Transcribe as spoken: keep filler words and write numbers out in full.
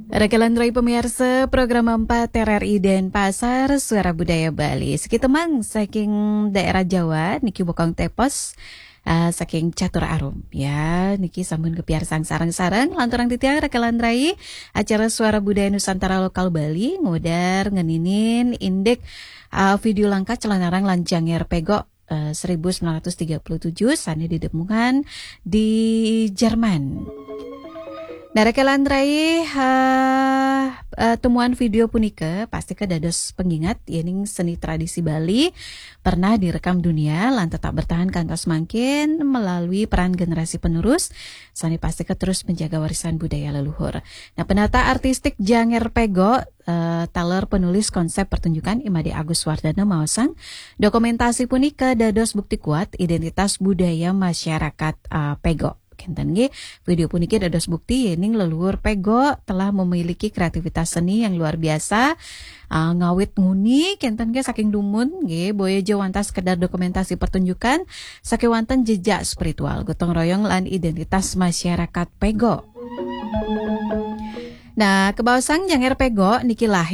Rakelan rai pemirsa program empat R R I Denpasar, Suara Budaya Bali. Sekitemang saking daerah Jawa niki bokong tepos, ah, saking Catur Arum. Ya, niki sampun kepiarsang sareng-sareng lanturang titiang rakelan rai acara Suara Budaya Nusantara Lokal Bali ngudar ngeninin indik, ah, video langka Celanarang lan Janger Pego, eh, seribu sembilan ratus tiga puluh tujuh sane didemungan di Jerman. Nah, rakelan rai, eh, eh, temuan video punika pasti ke dados pengingat yening seni tradisi Bali pernah direkam dunia lan tetap bertahan kantos mangkin melalui peran generasi penerus sane pasti ke terus menjaga warisan budaya leluhur. Nah, penata artistik Janger Pego, eh, taler penulis konsep pertunjukan Imade Agus Wardana maosang, dokumentasi punika dados bukti kuat identitas budaya masyarakat, eh, Pego. Kenten nggih, video puniki dados bukti yening leluhur Pego telah memiliki kreativitas seni yang luar biasa, eh, ngawit nguni kenten nggih saking dumun nggih, boya ja wantah sekedar dokumentasi pertunjukan, sakewanten jejak spiritual, gotong royong lan identitas masyarakat Pego. Nah, kebaosang Janger Pego niki lahir